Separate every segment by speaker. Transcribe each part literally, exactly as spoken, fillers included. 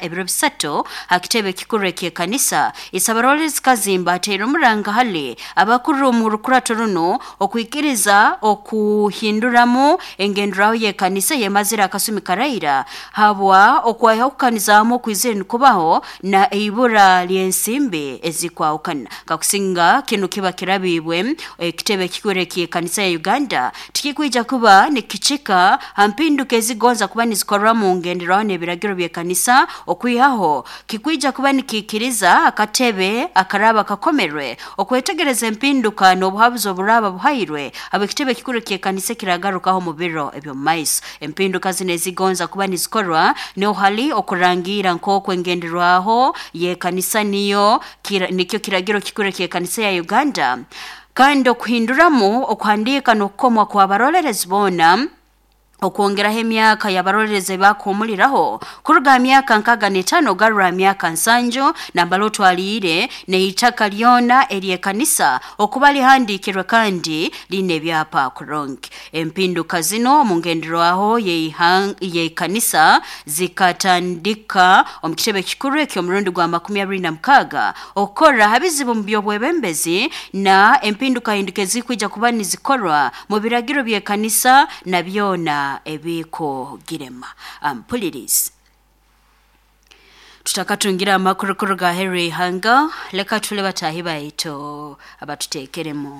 Speaker 1: Ebiro bisatu ha kitebe kikuru eky'ekanisa, Isabarolerezi Kazimba ateire omuranga hali abakuru omu rukurato runo okwikiriza okuhinduramu engenderaho y'ekanisa yemazire akasumi karaira habwa okwaiha okukanizaamu okwizire nikubaho na eibura ly'ensimbi ezikwahukana. Kakusinga kinu kiba kirabibwe, ekitebe kikuru eky'ekanisa ya Uganda tikikwija kuba nikicika ha mpinduka ezigonza kuba nizikorwa mu ngenderaho n'ebiragiro by'ekanisa, okwihaho kikwija kuba nikiikiriza akatebe akaraba kakomerwe okwetegereza empinduka n'obuhabuzi oburaba buhairwe ab'ekitebe kikuru ky'ekanisa ekiragarukaho mu biro eby'omu maiso. Empinduka zino ezigonza kuba nizikorwa niho hali okurangira nk'oku engenderwaho y'ekanisa niyo kira, nikyo kiragiro kikuru eky'ekanisa ya Uganda, kandi okuhinduramu okuhandiika n'okukomwa kw'abarolerezi boona, okwongeraho emyaka y'abarolerezi bakuhumuliraho kuruga ha myaka nkaga n'etaano ogarra ha myaka nsanju, nambala otwaliire n'eitaka lyona ery'ekanisa okuba lihandiikirwe kandi liine ebyapa kurungi. Empinduka zino omu ngenderwaho y'ekanisa zikatandika omu kitebe kikuru eky'omurundi gwa makumi abiri na mukaaga okukora ha bizibu mu by'obwebembezi na empindukahinduka ezikwija kuba nizikorwa mu biragiro by'ekanisa na byona ebikugirema. Ampulirizi, tutakatungira amakuru kuruga aheeru y'ihanga, leka tule bataahi baitu abatuteekeremu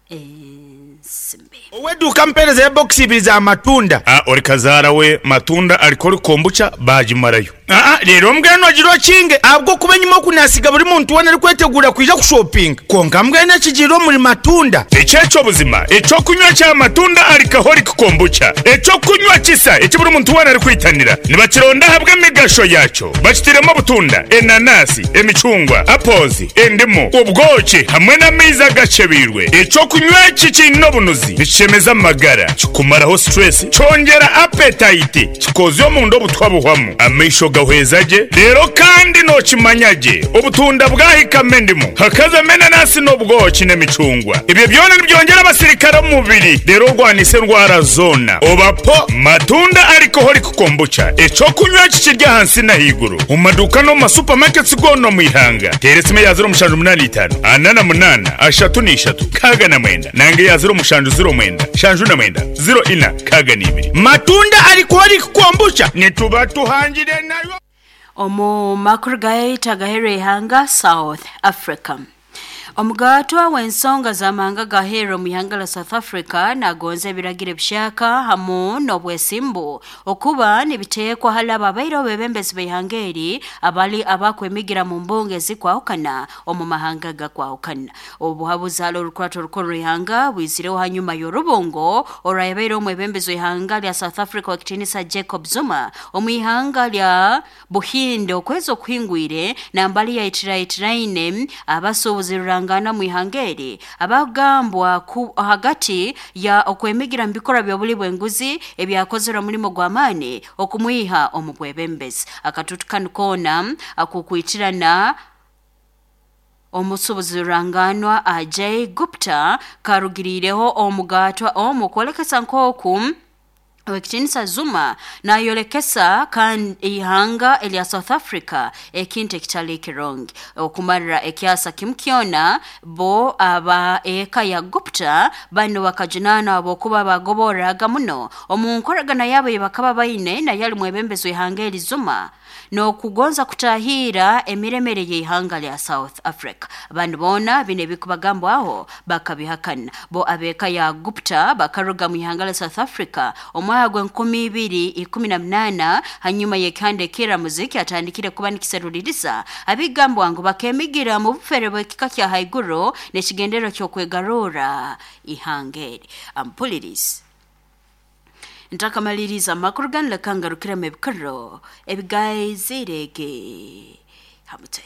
Speaker 1: ensimbi.
Speaker 2: Ow'edduuka, mpeereza ebokisi ibiri za matunda.
Speaker 3: Ah, ori kazaara we matunda aliko ori kombucha bagimarayo.
Speaker 2: Aa, leero mbwenu ogira okinge ahabw'okuba enyima okunasiga buri muntu weena arikwetegura kwija kushopinga, kwonka mbwenu ekigiire omuri matunda.
Speaker 3: Ekyekyo buzima ekyokunywa kya matunda alcoholic kombucha, ekyokunywa kisa eki buri muntu weena arikwitanira. Nibakironda ahabw'emigasho yakyo. Bakitiremu obutunda, enanasi, emicungwa, apples, endimu, obwoki hamwe n'amaizi agacebeirwe. Ekyokunywa eki kiine obunuzi, nikishemeza amagara, kikumaraho stress, kyongera appetite, kikozya omunda obutwa buhwamu, amaisho gahweza gye. Reero kandi nookimanya gye, obutunda bwahikamu endimu, hakazamu enanasi n'obwoki n'emicungwa, ebyo byona nibyongyera abasirikare omu mubiri, reero orwanisa endwara zoona. Obapo matunda alcoholic kombucha, ekyokunywa eki kiri ahansi n'ahaiguru omu maduuka n'omu masupamaketi goona omu ihanga. Teera esimu eya ziro mushanju munaana itaano ana na munaana ashatu n'ishatu kaaga na mwenda nange eya ziro mushanju ziro mwenda shanju na mwenda ziro ina kaaga n'ibiri.
Speaker 2: Matunda alcoholic kombucha, nituba tuhangire nayo.
Speaker 1: Omu makuru gaitu agaheeru ihanga, South Africa. Omugatwa w'ensonga z'amahanga gaheeru omu ihanga la South Africa nagonza ebiragiro ebishaka hamu n'obwesimbu okuba nibiteekwa hali abo abaire obebembezi b'ihanga eri abali abakwemigira mu mbunge ezikwahukana omu mahanga gakwahukana. Obuhabuzi hali orukurato orukuru rw'ihanga bwizireho hanyuma y'orubungo orwayabaire omwebembezi w'ihanga lya South Africa w'ekitiinisa Jacob Zuma omu ihanga lya Buhinde okwezi okuhingwire, nambali yaitiraitiraine abasuubuzi rurangana mu ihanga eri abagambwa ku hagati ya okwemigira mu bikorwa by'obuli bw'enguzi ebyakozerwe omulimo gw'amaani okumwiha omu bwebembezi. Akatutu kanu koona akukwitirana omusuubuzi ruranganwa Ajay Gupta karugiriireho omugatwa omu kwolekesa nk'oku owekitiinisa Zuma nayolekesa kandi ihanga erya South Africa ekintu ekitali kirungi. Okumarira ekyasa kimu kyona, bo aba eka ya Gupta bano bakajunana habwokuba bagoborraga muno omu nkoragana yabo ei bakaba baine naye ali mwebembezi w'ihanga eri Zuma n'okugonza kutahiira emiremere y'ihanga lya South Africa. Abandi boona bino ebikubagambwaho bakabihakana. Bo ab'eka ya Gupta bakaruga mu ihanga lya South Africa omwaka gw'enkumi ibiri ikumi na munaana hanyuma y'ekihanda ekiramuzi kyatandikire kuba nikiseruliriza abigambwa ngu bakemigira mu bufere bw'ekika kya haiguru n'ekigendererwa ky'okwegarurra ihanga eri. Ampulirizi, ntakamaliriza amakuru ganu, leka ngarukiremu ebikuru ebigaizirege ha mutwe.